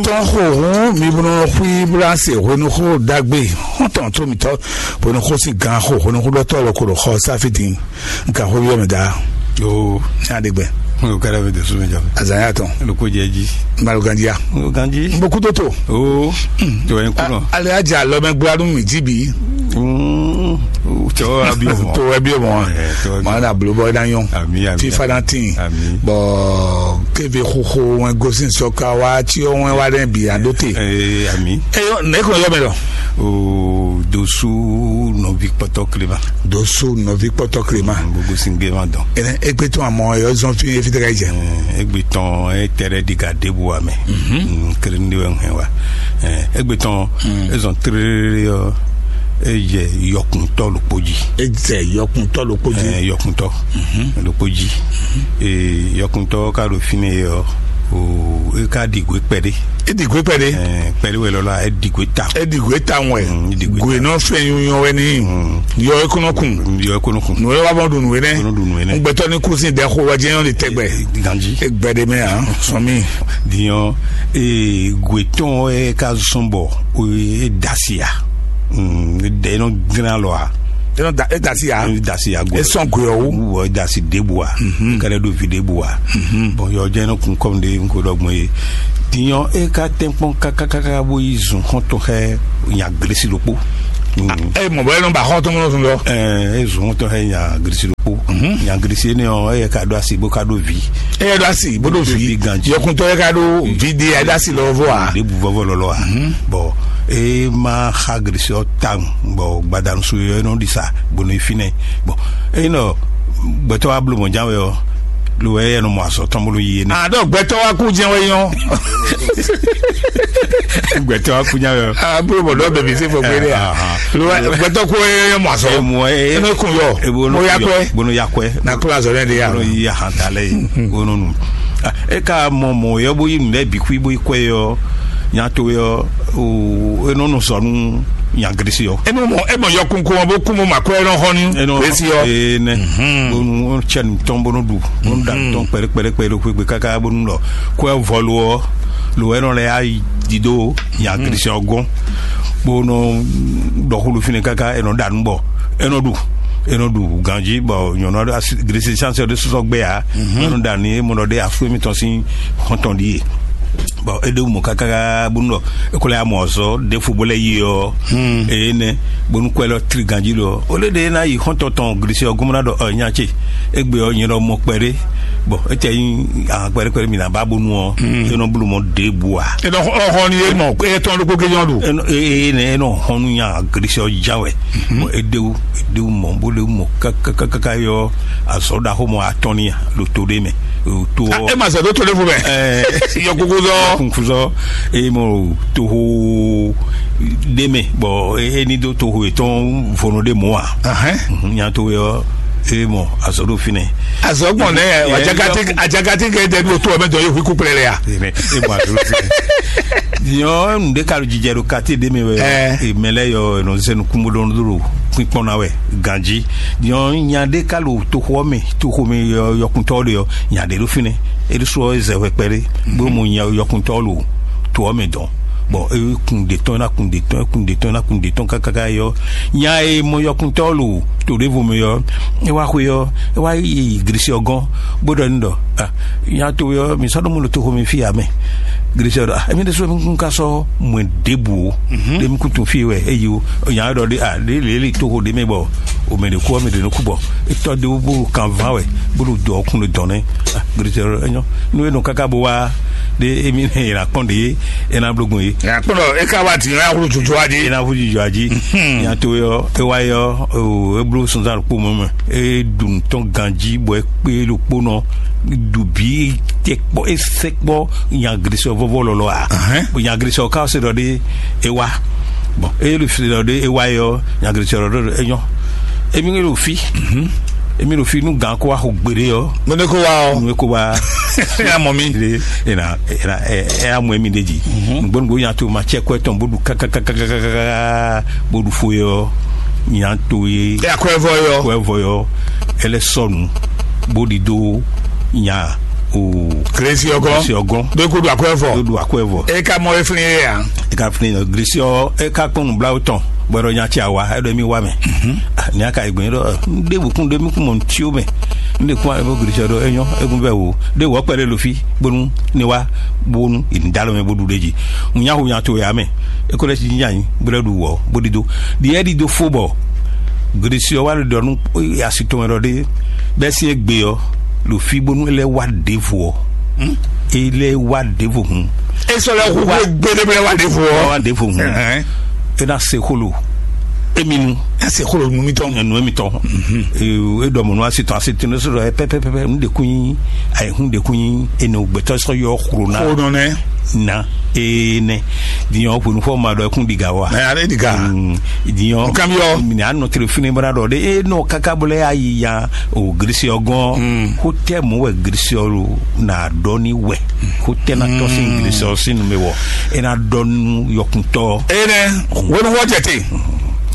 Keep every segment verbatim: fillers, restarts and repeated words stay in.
Tɔn xo hun mi bó nɔ xwí blanse hwenuxó ɖagbe xɔntɔn tó mitɔ hwenuxó sín gan xo hwenuxó ɖɔtɔ lɔ ko ɖo xɔ sáfì dín nka xó yɔ mɛ da. Yo, ní aɖegbɛ. Mo kɛra bɛ dɔsú mi jɔ. Azanya tɔn. Loko jɛ ji. Malo gandia. Mo ganji. N bɔ kuto to. O, to yẹn kúnɔ. Ale adza lɔ mɛ gbla nú mi jí bi. Mm, to abi o. To abi o mɔ. Eh, to abi. Mɔ na blo bɔ na yɔn. Ami, ami. Fifa na tin. Ami. Bɔ keve xoxo wɛn gosin sɔka wa tí ó wɛn wa ɖe bi aɖó te. Eh, ami. Eyɔ ne ko yɔ mɛ lɔ. O dosu nɔvi kpɔtɔ klema. Dosu nɔvi kpɔtɔ klema. Gbogbo sin gbema dɔn. Ene egbe tɔn amɔ yɔ zɔn fi fi tɛgɛ jɛ. Eh, egbe tɔn e tɛrɛ di ga debu wa mɛ. Mhm. Mm, kere ndi wɛ hɛn wa. Eh, egbe tɔn ezɔn tere yɔ e jɛ yɔkuntɔ lukpo ji. E jɛ yɔkuntɔ lukpo ji. Eh, yɔkuntɔ lukpo ji. Eh, yɔkuntɔ ka ɖo fine yɔ o e ka ɖi gwe kpɛɖe. E ɖi gwe kpɛɖe. Eh, kpɛɖe wɛ lɔlɔ e ɖi gwe ta. E ɖi gwe ta wɛ. Mm, e ɖi gwe ta. Gwe nɔ fɛn nyunyɔ wɛ ni. Mm. Yɔ e kɔnɔ kun. Yɔ e kɔnɔ kun. Nuyɛ wa bɔ ɖu nuyɛ nɛ. Kɔnɔ ɖu nuyɛ nɛ. Gbɛtɔ ni kusin ɖɛ xo wa jɛ yɔn de tɛgbɛ. Ganji. E gbɛ de mɛ a sɔn mi. Diɲɔ ee gwe tɔn e ka zɔn bɔ o e dasi a. Mm, ɖe nɔ grin alɔ a. E nɔ da e dasi a. E dasi a gwe. E sɔn gwe ɔ wu. Wɔ e dasi debu a. Mhm. Kɛlɛ do vi debu a. Mhm. Bɔn yɔ jɛ nɔ kun kɔm de nko dɔ gbɔn ye. Diɲɔ e ka tɛnkpɔn kakakaka bo yi zun xɔntɔn xɛ nya glesi ɖokpo. Mm. E mɔ bɔ e nɔ ba xɔntɔn kɔnɔ zun dɔ. Ɛɛ, e zun xɔntɔn xɛ nya glesi ɖokpo. Mhm. Nya glesi ne ɔ e ka do asi bo ka do vi. E yɛ do asi bo do vi. Ganji. Yɔkuntɔ e ka do vi de e do asi lɔ vɔ a. De bu vɔvɔ lɔlɔ a. Mhm. Bɔn e ma xa glesi ɔ ta bɔn gbadanu su yɔ e nɔ ɖi sa bo nɔ yi finɛ. Bɔn e nɔ gbɛtɔ wa blo mɔ jan wɛ ɔ lo wɛ e nɔ mɔ azɔ tɔn bolo yi ne. A dɔ gbɛtɔ wa kú jɛn wɛ yɔn. Gbɛtɔ wa kú nya wɛ. A bolo bɔ dɔ bɛ mi se fɔ gbé de ya. Lo wɛ gbɛtɔ kú yɛ mɔ azɔ. E mɔ e e ne kun yɔ. E bo no ya kɔɛ. Bo no ya kɔɛ. Na kula azɔ ne de ya. Bo no yi ya hanta lɛ yi. Bo no nu. E ka mɔ mɔ yɔ bo yi nu lɛ bi kui bo yi kɔɛ yɔ. Nya to yɔ o e nɔ nɔ sɔ nu nya grisi yɔ. E nɔ mɔ e mɔ yɔkun ko bo kun mo ma kɔɛ nɔ hɔn ni. E nɔ grisi yɔ. E nɛ. Bo nu cɛ nu tɔn bo no du. Bo nu da nu tɔn kpɛlɛ kpɛlɛ kpɛlɛ do kpekpe kaka bo nu lɔ. Kɔɛ vɔ lo ɔ lo ɛ nɔ lɛ ya dido nya grisi yɔ gɔn. Bo nɔ dɔ xulu fine kaka e nɔ da nu bɔ e nɔ du e nɔ du ganji bɔ nyɔnu asi grisi sanse de sɔsɔ gbɛ ya. E nɔ da ni e mɔ nɔ de afu emitɔn sin xɔntɔn di ye. Bɔn e ɖe mɔ káká bónú ɖɔ e ko lɛ amɔ ɔzɔ ɖe fo bó lɛ yi ɔ. Eye nɛ bónú kɔɛ lɔ tri ganji lɔ o lɛ ɖe na yi xɔntɔn tɔn glisi ɔ gɔmɔ na ɖɔ ɔ nya ce egbe ɔ nyɛ ɖɔ mɔ kpɛɖe. Bɔn e tɛ nyi ahan kpɛɖe kpɛɖe mi na ba bónú ɔ e nɔ blu mɔ ɖe bu a. E nɔ xɔ ni e mɔ e tɔn ɖokpó ke nyɔ ɖo. E nɔ e e nɛ e nɔ xɔnu nya glisi ɔ ja wɛ. Bɔn e ɖewu e ɖewu mɔ bó ɖewu mɔ kákákáká yɔ azɔ ɖaxó mɔ atɔn ni ɖo to ɖe mɛ. To ɔ e ma sɛ ɖo to ɖe vo mɛ. Ɛɛ yɔkukuzɔ kukuzɔ eye mɔ toho ɖe mɛ bɔn e ni do toho etɔn vono ɖe mɔ a. Nya to yɔ eye mɔ azɔ ɖo finɛ. Azɔ gbɔn nɛ ajakati ajakati kɛ dɛ do to ɔmɛ dɔ ye hu kuplɛ lɛ ya. E mɔ azɔ ɖo finɛ. Nyɔ nu ɖe ka ɖo jijɛ ɖo kati ɖe mɛ wɛ. Mɛ lɛ yɔ nɔ zɛnu kumbo ɖo kpikpɔn na wɛ ganji. Nyɔ nya ɖe ka ɖo toxo mɛ toxo mɛ yɔkuntɔ ɖe yɔ nya ɖe ɖo finɛ. Eɖo sɔ ezɛ hwɛ kpɛɖe bó mo nya yɔkuntɔ lo to ɔ mɛ dɔn. Bɔn e kun de tɔn na kun de tɔn e kun de tɔn na kun de tɔn kakaka yɔ nya e mɔ yɔkuntɔ lo to ɖevo mɛ yɔ e wa xwe yɔ e wa yi grisi ɔ gɔn bó ɖɔ ni ɖɔ ah nya to yɔ mi sɔ ɖo mo lo toxo mɛ fi ya mɛ. Grisi ɔ ɖɔ ah emi ɖe so mi kun ka sɔ mɔɛ ɖebu o. Ɖe mi kun tun fi wɛ eyi o nya ɖɔ ɖe ah ɖe leli toxo ɖe mɛ bɔ o mɛ ɖe ku ɔ mɛ ɖe no ku bɔ etɔ ɖe wo bó kan van wɛ bó ɖo dɔ ɔkun ɖo dɔn nɛ. Gritɛrɛ enyɔ nu e nɔ kaka bo wa ɖe emi nɛ yɛlɛ akpɔn ɖe ye ena blogun ye. Akpɔn ɖɔ e ka wa ti ya wolo tutu wa di. Ena fu jijɔ adzi. Nya to yɔ e wa yɔ o e blo sunzan ɖokpo mɔ mɛ e ɖu nutɔn ganji bɔ e kpe ɖokpo nɔ ɖu bi tɛ kpɔ e sɛ kpɔ nya grisɔ vɔvɔ lɔlɔ a. Bɔn nya grisɔ ka se ɖɔ ɖe e wa bɔn e ɖo fi ɖɔ ɖe e wa yɔ nya grisɔ ɖɔ ɖe enyɔ emi ɖo fi emi ɖo fi nu gan ko wa xo gbeɖe yɔ. Mɛ ne ko wa ɔ. Nu ko wa. Ya mɔ mi. Ena ena ɛ ɛ amɔ emi ɖe dzi. Nugbo nugbo nya to ma tsɛ kɔ etɔn bo ɖu kakakakakaka bo ɖu fo yɔ nya to ye. E akɔ evɔ yɔ. Kɔ evɔ yɔ. Ele sɔnu bo ɖi do nya o Grésiɔgɔn. Grésiɔgɔn. Ɖó kó ɖu akwɛ́ vɔ. Ɖó ɖu akwɛ́ vɔ. E ka mɔ e flin e a? E ka flin ɔ, Grésiɔ e ka kpɔn nublawo tɔn, bɔ ɖɔ nya tsi awa, e ɖɔ mi wa mɛ. Ni a ka yi gbɛn ɖɔ, n ɖe wukun ɖe mi kun mɔ ntio mɛ. N ɖe kun a bo Grésiɔ ɖɔ e nyɔ, e kun vɛ wo. Ɖe wɔ kpɛ ɖe lo fi, bonu ne wa, bonu in da lo mɛ bo ɖu ɖe ji. N nya hu nya to ya mɛ. E ko lɛ si nya nyi, bo lɛ ɖu wɔ, bo ɖi do. Ɖi e ɖi do fo bɔ Grésiɔ wa ɖɔ nu asi tɔn wɛ ɖɔ ɖe, bɛ si e gbe ɔ, lo fi bonu e lɛ wa ɖevo ɔ. E lɛ wa ɖevo hun. E sɔ lɛ hu gbe ɖe bɛ wa ɖevo ɔ. Wa ɖevo hun. E na se xolo. Emi nu. E se xolo nu mitɔn. Enu emitɔn. E ɖɔ mɔ nu asi tɔn asi tɔn ne sɔrɔ pɛpɛpɛpɛ nu de kun nyi, ayi hun de kun nyi, enu gbɛtɔ sɔ yɔ xolo na. Xolo nɛ. Na. E nɛ. Diɲɔ xonu fɔ ma ɖɔ kun diga wa. Mɛ ale diga. Diɲɔ. Nkan bi ɔ. Mini anɔ tele fini bra ɖɔ de e nɔ kaka bɔ lɛ ayi ya o Grésiɔ gɔn. Xotɛ mɔ wɛ Grésiɔ lo na ɖɔ ni wɛ. Xotɛ na tɔ sin Grésiɔ sin nu me wɔ. E na ɖɔ nu yɔkuntɔ. E nɛ. Wonu wɔ jɛte.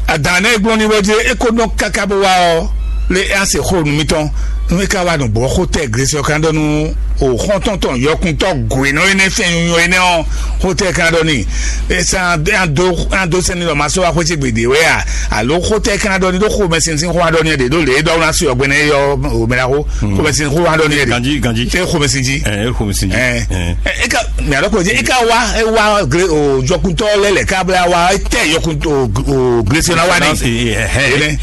Adan ne gblɔ ni wɛ je e ko nɔ kaka bɔ wa ɔ. Le e ase xo nu mitɔn. Nu e ka wa nu bɔ xotɛ Grésiɔ kan ɖɔ nu o xɔntɔn tɔn yɔkuntɔ gwenɔ enɛ fɛn nyɔ enɛ ɔ. Xotɛ kan ɖɔ ni. Esa an do an do sɛni lɔ ma sɔ wa xwetsi gbede wɛ a? Alo xotɛ kan ɖɔ ni ɖo xomɛ sinsin xo wa ɖɔ ni ɖe ɖo le e ɖɔ na suyɔ gbɛnɛ yɔ o mɛ la xo. Xomɛ sinsin xo wa ɖɔ ni ɖe. Ganji, ganji. E xomɛ sinji. Ɛ, e xomɛ sinji. Ɛ, e ka mɛ alɔ ko e ka wa e wa gre o jɔkuntɔ lɛ lɛ ka bla wa e tɛ yɔkuntɔ o Grésiɔ na wa ni.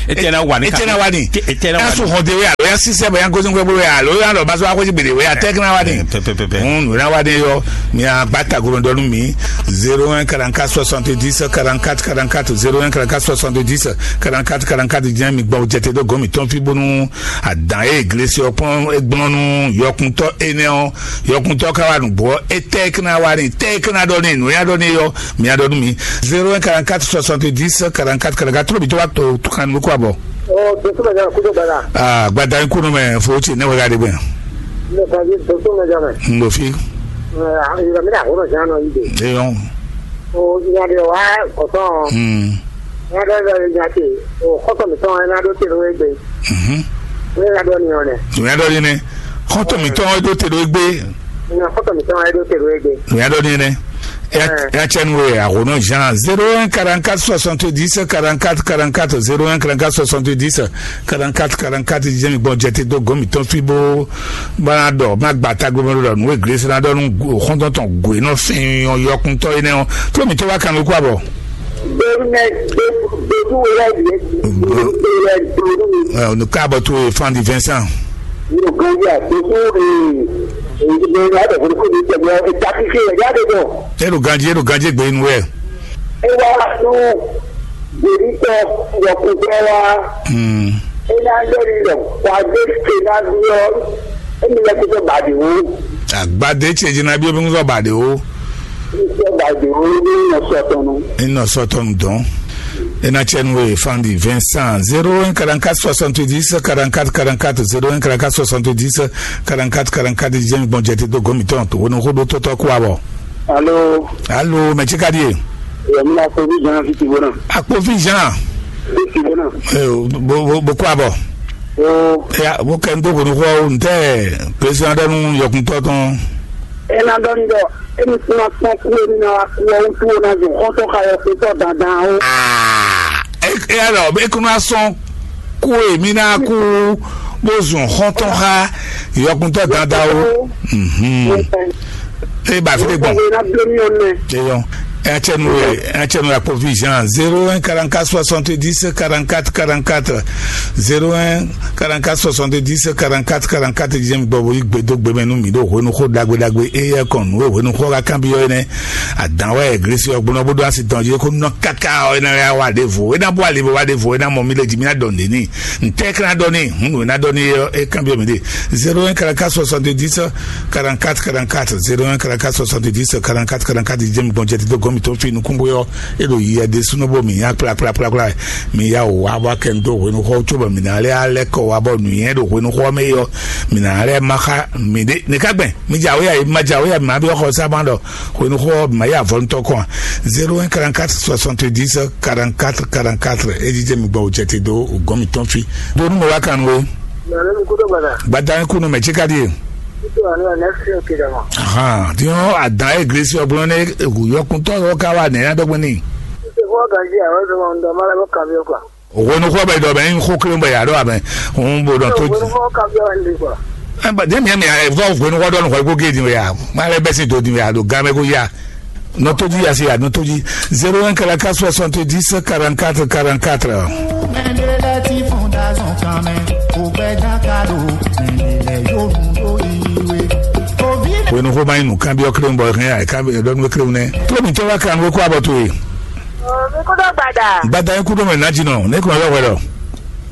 Etena wani. Etena wani. Etena wani. Asu hɔn de we alo ya sisɛ bɛ ya gosi nkwe bolo ya alo ya lɔ baso akwesi gbede we ya tɛkina wani. Pɛpɛpɛpɛ. Hun wena wani yɔ. Mi a gba ta gomɛ dɔnu mi. Zéro un quarante-quatre soixante-dix quarante-quatre quarante-quatre, zéro un quarante-quatre soixante-dix quarante-quatre quarante-quatre. Jɛn mi gbɔ jɛte do gomi tɔn fi bonu adan e glesi ɔkpɔn egblɔnu yɔkuntɔ enɛ ɔ yɔkuntɔ ka wa nugbɔ etɛkina wani tɛkina dɔni nuya dɔni yɔ. Mi a dɔnu mi. Zéro un quarante-quatre soixante-dix quarante-quatre quarante-quatre. Tro bi to wa to kan ko abɔ. Ɔ, doso mɛ jama kudo gbada. Aa gbada in kunu mɛ fo ti ne wɛ ka de gbɛ. Ne ka yi doso mɛ jama. N do fi. Ɛ, yɔrɔ mi na hɔrɔn jan nɔ yi de. Eyɔn. O nya de wa kɔtɔn. Hmm. Nya de lɔ nya te. O kɔtɔn mi tɔn na do te do egbe. Mhm. Ne na dɔ ni ɔnɛ. Nya dɔ ni ne. Kɔtɔn mi tɔn do te do egbe. Nya kɔtɔn mi tɔn do te do egbe. Nya dɔ ni ne. Ya cɛn we a hɔnɔ Jean zéro un quarante-quatre soixante-dix quarante-quatre quarante-quatre, zéro un quarante-quatre soixante-dix quarante-quatre quarante-quatre. Jɛmi gbɔn jɛte dó gɔmi tɔn fi bó bana dɔ ma gba tagbe mɛ dɔ nue gresena dɔ nu xɔntɔn tɔn goe nɔ fɛn yɔkuntɔ yi nɛ ɔ. Flo mi to wa kan ko abɔ. Bẹ́ẹ̀ni, bẹ́ẹ̀ni wẹ́rẹ́ yìí. Bẹ́ẹ̀ni wẹ́rẹ́ yìí. Ẹ, onu káàbọ̀ tó o fan di Vincent. Yóò gan yà tó tó ee ee adọ̀fún kò ní tẹ̀lé ẹ̀ ta kíkẹ́ ẹ̀ jáde bọ̀. Elu ganji, elu ganji gbe inú ẹ̀. Ẹ wá nú gbèríkọ yọkùnkẹ́ wa. Hmm. Ẹ náà lórí rẹ̀ wà á dé ṣe náà bí ọ. Ẹ mi lẹ́kọ̀ọ́ tó bàdé wò. Àgbàdé ṣe jìnnà bí obìnrin sọ bàdé wò. Iṣẹ́ bàdé wò ní ìyànsọ́tọ̀nù. Iná sọ́tọ̀nù dán. Ena tiẹ̀ nu e fan di Vincent zéro un quarante-quatre soixante-dix quarante-quatre quarante-quatre, zéro un quarante-quatre soixante-dix quarante-quatre. Jɛmi gbɔn jɛte dó gɔmi tɔn tó wọnú xó dó tɔtɔ kó abɔ. Alo. Alo, mɛ tsi ka di e? Yɛ mi na ko bi jan fi ti bona. Akpo fi jan. Fi ti bona. Ee, bo bo bo kó abɔ. O. Ya, bo kɛ n tó kɔni xɔ o ntɛ. Président dɔ nu yɔkuntɔ tɔn. Ena dɔ n dɔ. Emi kuna kpɔn ku emi na wa ku ɔ wutu o na zun xɔntɔ xa yɔ kutɔ dandan o. Aa, e e alɔ e kuna sɔn ku emi na ku bó zun xɔntɔ xa yɔkuntɔ dandan o. Mhm. E ba fi de gbɔn. Eyɔn. Etsɛnu etsɛnu la provision zéro un quarante-quatre soixante-dix quarante-quatre quarante-quatre, zéro un quarante-quatre soixante-dix quarante-quatre quarante-quatre. Jɛmi gbɔ bo yi gbedo gbɛmɛ nu mi ɖo hwenu xo dagbe dagbe eyɛ kɔn nu hwenu xo ka kan bi yɔ ne. Adan wɛ glesi ɔgbɔn bo do asi tɔn je ko nɔ kaka ɔ ena ya wa de vo ena bo ali bo wa de vo ena mɔ mi le ji mi na dɔn de ni. Ntɛ kana dɔn ni hun ena dɔn ni e kan bi mi de. Zéro un quarante-quatre soixante-dix quarante-quatre quarante-quatre, zéro un quarante-quatre soixante-dix quarante-quatre quarante-quatre. Jɛmi gbɔn jɛ ti do gɔmi to fi nukun bo yɔ e ɖo yi ɛde sunɔ bo mi ya kpla kpla kpla kpla. Mi ya o wa wa kɛ n do hwenu xɔ tso bɔ mi na lɛ alɛ kɔ wa bɔ nuyɛ ɖo hwenu xɔ mɛ yɔ. Mi na lɛ ma xa mi de ne ka gbɛn mi dza wo ya ma dza wo ya ma bi xɔ sa ma ɖɔ hwenu xɔ ma ya vɔ ntɔ kɔn. Zéro un quarante-quatre soixante-dix quarante-quatre quarante-quatre. E di jɛ mi gbɔ o jɛ ti do o gɔn mi tɔn fi. Do nu mo wa kan wo. Gbada kunu mɛ tsi ka di ye. Nítorí àná ẹ̀ nẹ́sìn òkè dàgbà. Ahan, tí wọ́n àdán ẹ̀ gírísì ọ̀gbọ́n ní yọkùntọ́ yọ ká wà ní ẹ̀yà dọ́gbọ́n ní. Nítorí wọ́n gàdí àwọn ọ̀dọ́ wọn ń dọ̀ máa lọ́wọ́ kàmí ọkọ̀. Òhwenu xɔ bɛ dɔ bɛ ń xó kéré bɛ yà ɖɔ abɛ. Òun bò dɔ tó. Òhwenu xɔ kàmí ọ̀hún lè gbà. Ẹ bá dé miami ẹ vɔ òhwenu xɔ dɔnu xɔ kó gé di wɛ ya. Má lɛ bɛ sin tó di wɛ ya ɖo gán mɛ kó ya. Nɔ tó di ya se ya nɔ tó di. Zéro un kala quatre soixante dix quarante quatre quarante quatre. Wenu xo ma inu kan bi ɔkre bɔ hɛn ai kan bi dɔnu kre ne. Tó mi tɛ wa kan we kó abɔ to ye. Mi kúndó gbada. Gbada ye kúndó mɛ na jinɔ ne kò yɔ wɛlɔ.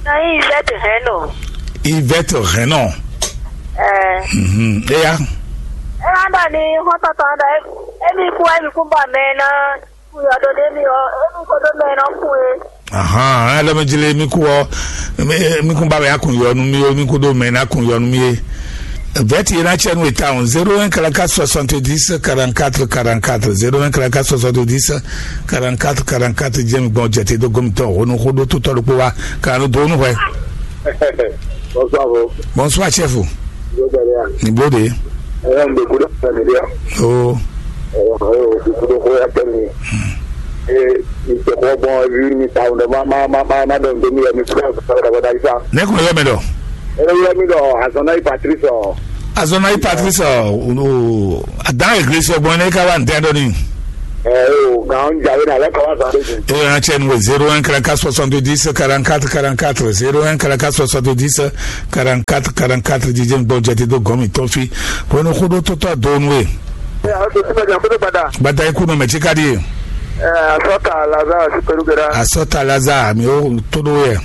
Na yi Yvette hɛn nɔ. Yvette hɛn nɔ. Ɛɛ. Mhm. Eya. Ɛ wá dɔ ni xɔtɔtɔ dɔ emi kú emi kú bɔ mɛ na kú yɔ do de mi ɔ emi kó do mɛ na kú e. Ahan, alɔ mi jile mi kú ɔ mi mi kún ba mɛ akun yɔ nu mi o mi kú do mɛ na kun yɔ nu mi e. Vɛti yena cɛ nu eta on zéro un kala quatre soixante dix quarante quatre quarante quatre zéro un kala quatre soixante dix quarante quatre quarante quatre jɛ mi gbɔn jɛ te do gomitɔ o nu xó do tutɔ do kpo wa kanu do nu hwɛ. Bonsoir, bro. Bonsoir, chef. Ni blo de. Ɛɛ, n bɛ kudo fɛn mi de. Oh. Ɛɛ, n bɛ kudo ko ya tɛ mi. Ee, n tɛ ko bɔn ebi mi ta o ma ma ma ma ma dɔn mi ya mi kura sa da da sa. Ne kun yɔ mi dɔ. Ɛɛ, yɔ mi dɔ azɔn na yi Patrice ɔ. Azɔn na yi Patrice ɔ. Adan eglise bɔn ne ka wa n tɛ dɔ ni. Ɛɛ, o gan jawe na lɛ ka wa sa de. E yan cɛ nu zéro un kala quatre soixante dix quarante quatre quarante quatre zéro un kala quatre soixante dix quarante quatre quarante quatre jijɛ gbɔ jate do gɔmi tɔn fi. Wenu xó ɖó tó tɔ do nu e. Ɛ, a to tuma jan kodo gbada. Gbada ikú nɔ mɛ tsi ka di. Ɛ, asɔta Lazare si pɛlu gɛra. Asɔta Lazare mi o to do yɛ.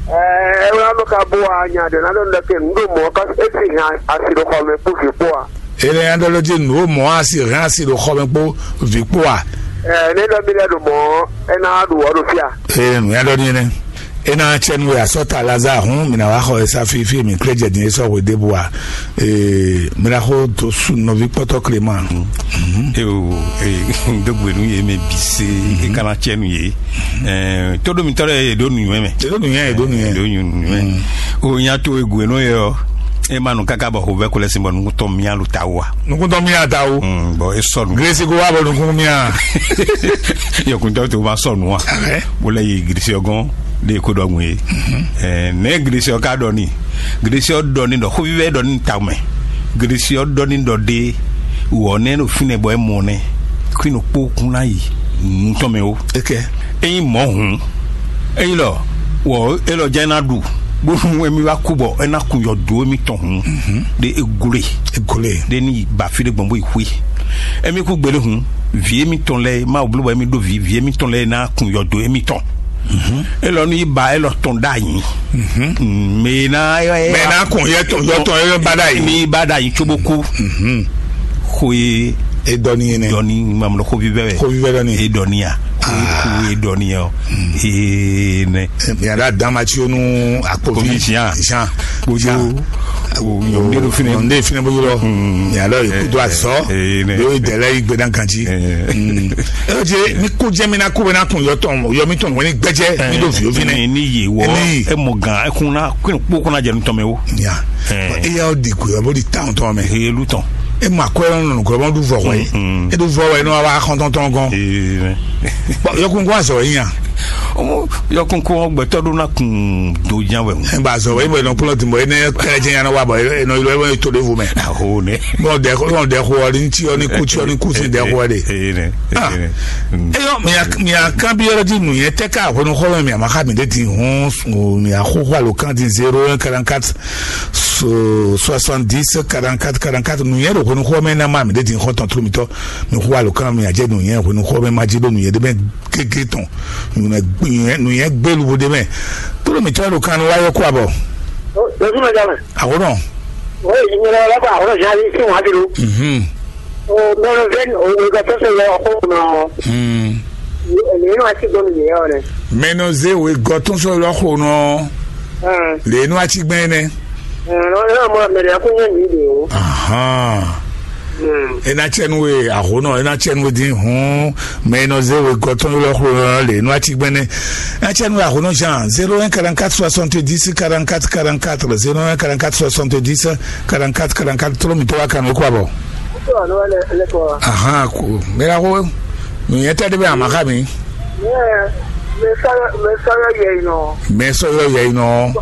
Ɛ, ɛ wla nɔ ka bo a nya de na dɔ ndɛ ke nu do mɔ ka e si hɛn asi do xɔ mɛ kpo fi kpo a. Ele ya ɖɔ lɔ dzi nu o mɔ asi hɛn asi do xɔ mɛ kpo vi kpo a. Ɛ, ne dɔ mi lɛ do mɔ e na do wɔ do fia. Ee nu ya ɖɔ ni ne. Ena cɛ nu ya sɔta Lazare hun mina wa xɔ esa fifi mi kle jɛ din esɔ hwe debu a. Ee mina xo to su nɔvi kpɔtɔ Clément. Eo, ee, dogbe nu ye mɛ bi se e kana cɛ nu ye. Ee, todo mi tɔrɔ ye do nu mɛ. Todo nu ye do nu ye. Do nu mɛ. O nya to e gue no ye o. E ma nu kaka bɔ ho vɛ ko lɛ sin bɔ nu tɔ mi alu ta wa. Nukun tɔ mi ata wo. Bɔn e sɔnu. Gilesi ko wa bɔ nukun mi a. Yɔkuntɔ to ma sɔnu wa. Wala ye gilisi ɔgɔn de ko dɔ ŋun ye. Ɛɛ ne gilisi ɔ ka dɔ ni. Gilisi ɔ dɔ ni dɔ xovivɛ dɔ ni ta mɛ. Gilisi ɔ dɔ ni dɔ de. Wɔ ne no finɛ bɔ e mɔ ne. Kui no kpo kun na yi. Nutɔ mɛ o. Eke. Eyin mɔ hun. Eyin lɔ wɔ elɔ jɛ na ɖu. Bónú emi wá kú bɔ ena kun yɔ do emi tɔn hun. De egole. Egole. De ni ba fi de gbɔn bo yi hui. Emi kú gbele hun. Vi emi tɔn lɛ ma blo bɔ emi ɖo vi vi emi tɔn lɛ na kun yɔ do emi tɔn. Elɔ nu yi ba elɔ tɔn da yi. Mɛ na mɛ na kun yɛ tɔn yɔ tɔn yɔ ba da yi. Mi ba da yi tsobo ku. Xo ye. E dɔ ni yɛnɛ. Dɔ ni mamlɔ xo vivɛ wɛ. Xo vivɛ dɔ ni. E dɔ ni ya. Xo ye dɔ ni ya. Ee nɛ. Miada dama tsi onu akpovi. Komi Jean. Jean. Kojo. Nyɔnde do fine. Nyɔnde fine bolo lɔ. Miada yi kudo azɔ. Ee nɛ. Yɔ idɛlɛ yi gbedan kanji. Ee je mi ko jɛ mi na ko bɛ na kun yɔ tɔn yɔ mi tɔn wɛni gbɛjɛ mi do fi o fine. Ni ye wɔ. E mɔ gan e kun na kun kpo kun na jɛ nu tɔn mɛ o. Ya. E ya o di ko yɔ bo di tan tɔn mɛ. Ee lu tɔn. E ma ko yɔ nɔ ko bɔ du vɔ wɛ. E du vɔ wɛ no wa xɔntɔn tɔn gɔn. Ee. Bɔn yɔkun ko azɔ yi yan. Ɔmɔ yɔkun ko gbɛtɔ do na kun do jan wɛ. E ba azɔ wɛ e bɔ e nɔ kplɔ ti bɔ e ne kɛlɛ jɛ yan na wa bɔ e nɔ yɔ e to de vo mɛ. Aho ne. Bɔn dɛ ko dɛ ko ɔri ti ɔ ni ku ti ɔ ni ku si dɛ ko ɔri. Ee ne. Ee ne. Eyɔ mi a mi a kan bi yɔrɔ di nu yɛ tɛ ka hwenu xɔ mɛ mi a ma xa mi de ti hun mi a xo xo alo kan di zéro un quarante quatre soixante dix quarante quatre quarante quatre nu yɛ do hwenu xɔ mɛ na ma mi de ti xɔ tɔn tro mi tɔ mi xo alo kan mi a jɛ nu yɛ hwenu xɔ mɛ ma ji do nu yɛ de mɛ gege tɔn nu yɛ gbelu bo de mɛ tro mi tɔ do kan wa yɔ kó abɔ. Lọ́sùn mẹ́ta mẹ́. Àwòrán. Wọ́n yìí ní ọlọ́wọ́ lẹ́kọ̀ọ́ àwòrán ìyá yìí sí wọn á ti lu. Mhm. O mẹ́rin vẹ́ni òun ìgbà tó ṣe lọ ọkọ̀ náà. Mm. Èmi náà ti gbọ́ mi nìyẹn ọ̀rẹ́. Mɛnɔ ze we gɔ tún sɔ lɔ xo nɔ. Lè nu ati gbɛn nɛ. Ẹ̀rọ náà mọ mẹ̀rẹ̀ kó yẹn nìyí de o. Ahan. E ná cɛ nú we ahonɔ, e ná cɛ nú we dín hǔn, mɛ e nɔ zé we gɔtɔn ylɔ́ xlonɔ lě nú acigbɛnɛ. E ná cɛ nú we ahonɔ Jean, zéro un quarante-quatre soixante-dix quarante-quatre quarante-quatre, zéro un quarante-quatre soixante-dix quarante-quatre quarante-quatre, tló mǐtɔn wá kan nú kú abɔ. Ahan, ko mɛ la ko, nǔnyɛ tɛ ɖé bɛ ama xa mi. Mɛ sɔyɔ yɛ yi nɔ. Mɛ sɔyɔ yɛ yi nɔ.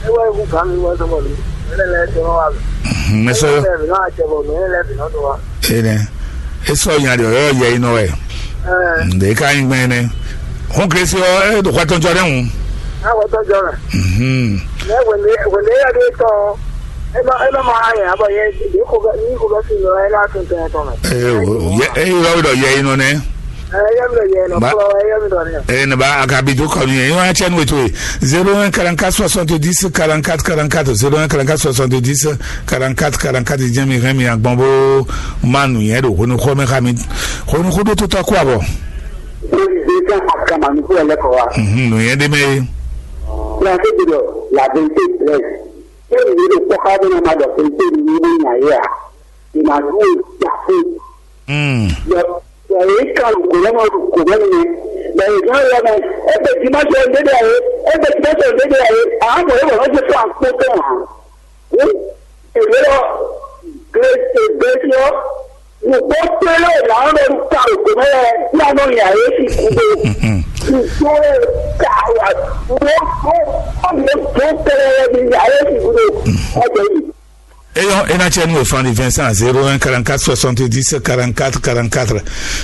Ewa ewu gami wa sɔmɔ mi. Mɛ lɛ tɛ wa. Mɛ sɔyɔ. Mɛ lɛ tɛ bɔ mɛ lɛ bi nɔ do wa. Enɛ. Esɔ nya de ɔyɔ yɛ yi nɔ wɛ. Ɛɛ. Nde ka nyi gbɛn nɛ. Hɔn Kristi ɔ, e do xɔtɔn jɔ ɖe ŋu. Awɔ tɔ jɔ mɛ. Mhm. Mɛ wende wende ya de tɔ. E ma e ma ma ha yɛ abɔ yɛ de ko bɛ ni ko bɛ fi nɔ e la tun tɛ tɔ mɛ. Ee, o- o- yɛ- e yɔrɔ dɔ yɛ yi nɔ nɛ. Ɛɛ yɛ mi lɛ yɛ nɔ Ba- kplɔ yɛ mi dɔ ne. Ee, ne ba a ka bi do kɔ nu yɛ, yɔrɔ cɛ nu eto ye. Zéro un quarante-quatre soixante-dix quarante-quatre quarante-quatre, zéro un quarante-quatre soixante-dix quarante-quatre quarante-quatre, jɛ mi hɛn mi agbɔn bo ma nu yɛ do honu xɔ mɛ xa mi. Honu xɔ do to tɔ kó abɔ. Président Akamanu fún ẹlẹ́kọ̀ọ́ wa. Mhm, nu yɛ de mɛ ye. Fúnra tó gbọdọ̀ la vérité blesse. Ṣé ìwé ló pọ́ ká bẹ́ẹ̀ máa dọ̀ vérité ní ilé ìyá yé à? Ìmàlú ò jà fún. Mm. Yọ yọ yìí kan lùkò lọ́mọ lùkò mẹ́rin ni. Bẹ̀rẹ̀ ìgbà yọ mẹ́. Ẹ bẹ̀ tí má sọ dédé ayé. Ẹ bẹ̀ tí má sọ dédé ayé. Àwọn ọmọ yóò wọ́n ti fún àpò tó hàn. Ní èlé lọ. Gẹ̀ẹ́sì gẹ̀ẹ́sì lọ. Nùgbọ́ péré làwọn lọ ka òkè mẹ́rẹ̀ ní àná ìyá yẹn sì kú dé. Nùgbọ́ ẹ̀ ka wà. Wọ́n kọ́ ọ̀nà tó kẹrẹ ní ìyá yẹn sì kú dé. Ọjọ́ yìí. Eyɔn, e ná cɛ nú wěfán ní Vincent, zéro un quarante-quatre soixante-dix quarante-quatre quarante-quatre,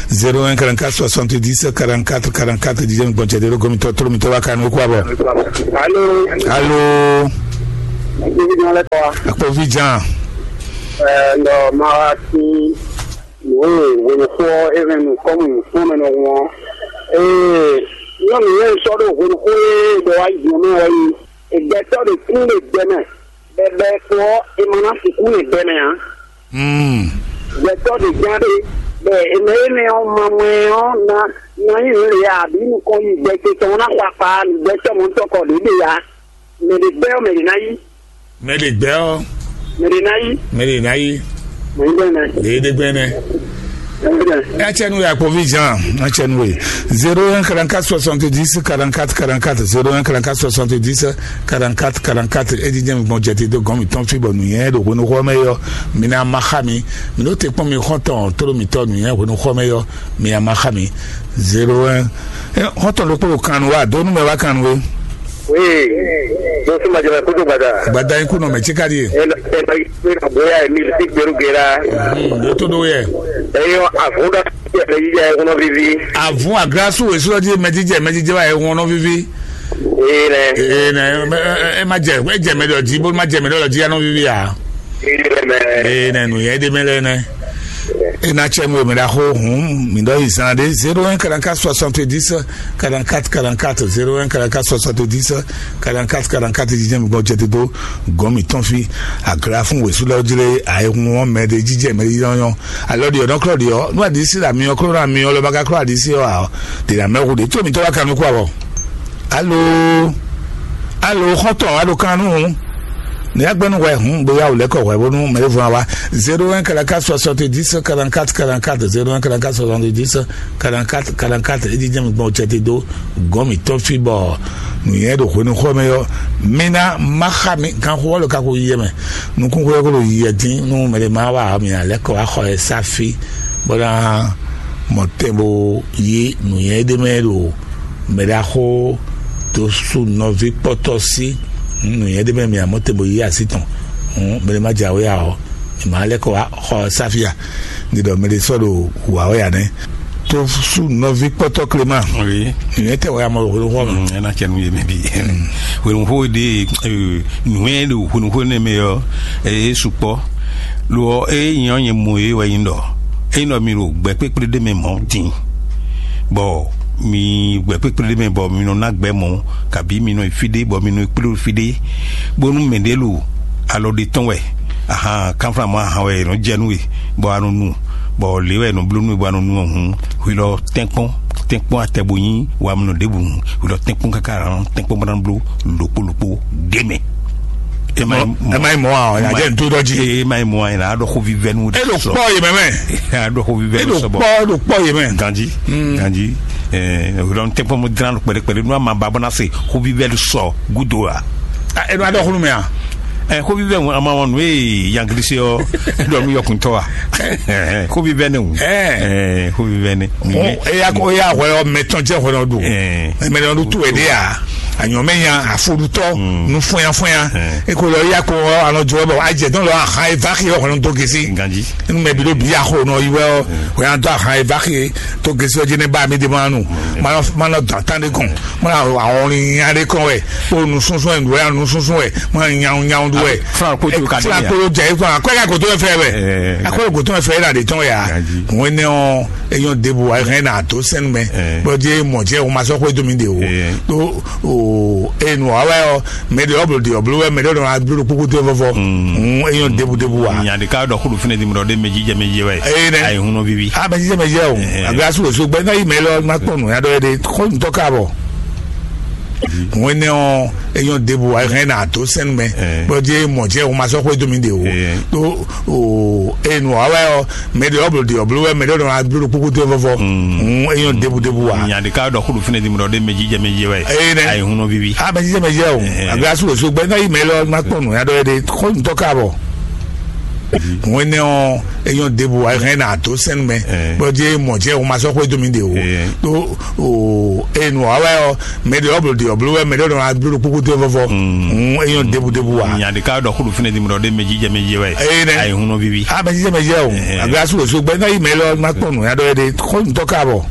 zéro un quarante-quatre soixante-dix quarante-quatre quarante-quatre, dídé mi gbɔn cɛ dé ló gómìtɔ tló mi tó wá kánú kú abɔ. Alo. Alo. Ibi náà lẹ́kọ̀ọ́ wa. Akpɔvi jan. Ẹ ǹdọ̀ máa wá sí ìwé ìwénukú ẹ̀rẹ́nu kọ́mù fún mi nù wọn. Ee, nyɔnu yẹn sɔ ɖo hwenuxó e ɖɔ wá yi mɛ wɛ yi. Ìgbẹ́tɔ́ ɖe kún ɖe gbɛ mɛ. Bɛbɛ kpɔ ɔ, e ma ná sixú nyi gbɛ mɛ ǎ. Hmm. Gbɛtɔ́ ɖe gán ɖé, bɔ è mɛ énɛ́ ɔ́ ma mɔ ɛ ɔ́ ná ná nyí nǔ lě ǎ, bǐ nukɔn yi gbɛ ce tɔn ɔ́ ná xɔ akpa nǔgbɛ́tɔ́ mɔ̌tɔn kɔ ɖě ɖe ǎ. Mɛ ɖě gbɛ́ ɔ́, mɛ ɖě ná yí. Mɛ ɖě gbɛ́ ɔ́, Mɛ ɖě ná yí. Mɛ ɖě ná yí. Mɛ nyí bɛ́ nɛ. Ɖě ɖe gbɛ́ nɛ. Mɛ nyí bɛ́ nɛ. Etsɛ nu ya kpovi Jean, etsɛ nu ye. Zéro un quarante-quatre soixante-dix quarante-quatre quarante-quatre, zéro un quarante-quatre soixante-dix quarante-quatre quarante-quatre. Edi jẹ́ mi gbɔn jɛ te dó gɔn mi tɔn fi bɔ nǔnyɛ ɖo hwenu xɔ mɛ yɔ. Mi ná ma xa mi. Mi ɖó te kpɔn mi xɔntɔn tló mi tɔ nǔnyɛ hwenu xɔ mɛ yɔ. Mi ná ma xa mi. Zéro un. Xɔntɔn ɖokpó ɖo kan nu wa, dó nú mɛ wá kan nu we. Oui, mo tún máa jẹ mẹ kótó gbàdá. Gbàdá yín kùnà mẹ tí ká díè. Ẹ lọ ẹ lọ yí pé àbúrò àìmí sí gbèrú gèrà. Ló tó dó yẹ. Ẹ yọ àfúndà sí ẹ̀rẹ́ yíyá ẹ kúnná fífi. Àfún àgírásù èso ọdí mẹjíjẹ mẹjíjẹ wa ẹ wọn náà fífi. Ee nẹ. Ee nẹ, ẹ má jẹ ẹ jẹ mẹdọ jí bó má jẹ mẹdọ lọ jí yá náà fífi yà. Ee nẹ. Ee nẹ nù yẹn dé mẹlẹ nẹ. E ná tsɛ nú we mɛ ɖaxó hǔn mǐ ɖɔ yi zán ɖé zéro un quarante-quatre soixante-dix quarante-quatre quarante-quatre, zéro un quarante-quatre soixante-dix quarante-quatre quarante-quatre, jijɛ mi gbɔ jɛ dodo gɔn mi tɔn fi. Agra fún wěsú lɛ jlé ayéhun wọn mɛ ɖe jijɛ mɛ ɖe yɔnyɔ. Alɔ ɖiɔ nɔ klɔ ɖiɔ nú aɖisi la miɔ klɔ na miɔ lɔ ba ka klɔ aɖisi ɔ a. Ɖe na mɛ hu ɖe tó mi tɔ wa kanu kú awɔ. Alo. Alo xɔtɔ alo kan nu. Ní agbẹnu hwɛ hun bóyá o lẹkọ hwɛ bónú mɛ fún wa. Zéro un quarante-quatre soixante-dix quarante-quatre quarante-quatre, zéro un quarante-quatre soixante-dix quarante-quatre quarante-quatre. Edi jẹ́ mi gbɔn cɛ ti dó gɔn mi tɔn fi bɔ nùyẹn ɖo hwenu xɔ mɛ yɔ. Mina maxa mi kan xɔ lɔ kako yiyɛ mɛ. Nukun xɔ yɔ ko ɖo yiyɛ dín nú mɛ ɖe ma wa mi alɛ kɔ axɔ yɛ safi bɔ na mɔ tɛn bo yi nùyẹn ɖe mɛ ɖo mɛ ɖaxó tó sú nɔví kpɔtɔ sí nǔnyɛ ɖé mɛ mi amɔ te bo yí así tɔn. Mɛ ɖé má jɛ awé ya ɔ, mi má lɛ́ kɔ wá xɔ sáfíà. Ní ɖɔ mɛ ɖé sɔ́ ɖo wǎ wɛ ya nɛ́. Tó sú nɔví kpɔtɔ Clément. Oui. Nǔnyɛ tɛ wɛ amɔ ɖo xɔ mɛ. Ɛ ná cɛ nu yé mɛ bi. Hwenuxó ɖe nǔnyɛ ɖo hwenuxó nɛ mɛ ɔ, ɛ sukpɔ. Lo ɔ, ɛ nyɛ ɔ nyɛ mɔ yé wɛ nyi ɖɔ. Ɛ nyí ɖɔ mi ɖo gbɛ kpékplé ɖé mɛ mɔ̌ din. Bɔ mi gbɛ kpékplé ɖé mɛ bɔ mi nɔ ná gbɛ mɔ̌, kabi mi nɔ yi fí ɖé bɔ mi nɔ yi kplé ɖo fí ɖé, bónú mɛɖé lo alɔ ɖé tɔn wɛ ahan kanflan mɔ ahan wɛ è nɔ jɛ nú we, bɔ a nɔ nu, bɔ lě wɛ è nɔ bló nú we bɔ a nɔ nu ɔ́ hǔn, hwi lɔ tɛ́nkpɔ́n tɛ́nkpɔ́n atɛ bo nyí wamɛnɔ ɖěbǔ hǔn, hwi lɔ tɛ́nkpɔ́n káká a nɔ tɛ́nkpɔ́n bó ná bló lǒkpó lǒkpó ɖé mɛ. Ema yi mɔ. Ema yi mɔ a, ɔ, yà jẹ́ ntó dɔ jí. Ema yi mɔ a, yìí la, a ɖɔ xóvi vɛnu. E ɖo kpɔ yìí mɛ mɛ. A ɖɔ xóvi vɛnu sɔbɔ. E ɖo kpɔ ɖo kpɔ yìí mɛ. Ganji, ganji. Ɛɛ, o ɖɔ n tɛ kpɔn mo dran kpɛɖe kpɛɖe nu ama ba bɔ na se xóvi vɛnu sɔ gudo a. E ɖo a ɖɔ xónu mɛ a. Ɛ, xóvi vɛnu ama wɔn nu e yangilisi ɔ, e ɖɔ nu yɔkuntɔ a. Xóvi vɛnu. Ɛ, xóvi vɛnu. Eya ko eya hwɛ ɔ mɛtɔn jɛ hwɛ nɔ ɖu. Ɛɛ. Mɛ nɔ ɖu tu wɛ ɖe a. Anyɔmɛnya, afoɖutɔ, nu fɔnya fɔnya. Eko lɔ ya ko ɔ anɔ jɔ bɔ ajɛ dɔn lɔ ahan e va xi ɔ hɔn to gesi. Ganji. Enu mɛ bi ɖo bi axo nɔ yi wɛ ɔ, o ya dɔ ahan e va xi to gesi ɔ dzi ne ba mi de ma nu. Ma nɔ ma nɔ dɔn tan de kɔn. Ma nɔ awɔn ni nya de kɔn wɛ. O nu sunsun wɛ, nu wɛ, nu sunsun wɛ. Ma nɔ nyawu nyawu du wɛ. Fúnra kó tó ka dé ya. Fúnra kó tó jɛ ikɔn akɔɛ ka kó tó fɛ wɛ. Ɛɛ. Akɔɛ kó tó fɛ la de tɔn ya. Ganji. Ŋwɛnɛ ɔ, eyɔn debu wa hɛn na to sɛn mɛ. Ɛɛ. Bɔ je mɔ jɛ o ma sɔ xwe domi de o. Ɛɛ. To o enu wa wɛ ɔ, mɛ de ɔblo de ɔblo wɛ, mɛ de ɔdɔ ablo kpokpo to vɔvɔ. Mm. Eyɔn debu debu wa. Nya de ka dɔ kudu fine di mɔ de mɛ jijɛ mɛ jijɛ wɛ. Ɛɛ nɛ. Ayi hun nɔ vivi. A mɛ jijɛ mɛ jijɛ o. Ɛɛ. A bɛ asu osu gbɛ na yi mɛ lɔ na kpɔn nu ya dɔ yɛ de xɔ ntɔ ka bɔ. Ŋwɛnɛ ɔ, eyɔn debu wa hɛn na to sɛn mɛ. Ɛɛ. Bɔ je mɔ jɛ o ma sɔ xwe domi de o. Ɛɛ. To o enu wa wɛ ɔ, mɛ de ɔblo de ɔblo wɛ, mɛ de ɔdɔ ablo kpokpo to vɔvɔ. Mm. Eyɔn debu debu wa. Nya de ka dɔ kudu fine di mɔ de mɛ jijɛ mɛ jijɛ wɛ. Ɛɛ nɛ. Ayi hun nɔ vivi. A mɛ jijɛ mɛ jijɛ o. Ɛɛ. A bɛ asu osu gbɛ na yi mɛ lɔ na kpɔn nu ya dɔ yɛ de xɔ ntɔ ka bɔ. Ŋwɛnɛ ɔ, eyɔn debu wa hɛn na to sɛn mɛ. Ɛɛ. Bɔ je mɔ jɛ o ma sɔ xwe domi de o. Ɛɛ. To o enu wa wɛ ɔ, mɛ de ɔblo de ɔblo wɛ, mɛ de ɔdɔ ablo kpokpo to vɔvɔ. Mm. Eyɔn debu debu wa. Nya de ka dɔ kudu fine di mɔ de mɛ jijɛ mɛ jijɛ wɛ. Ɛɛ nɛ. Ayi hun nɔ vivi. A mɛ jijɛ mɛ jijɛ o. Ɛɛ. A bɛ asu osu gbɛ na yi mɛ lɔ na kpɔn nu ya dɔ yɛ de xɔ ntɔ ka bɔ.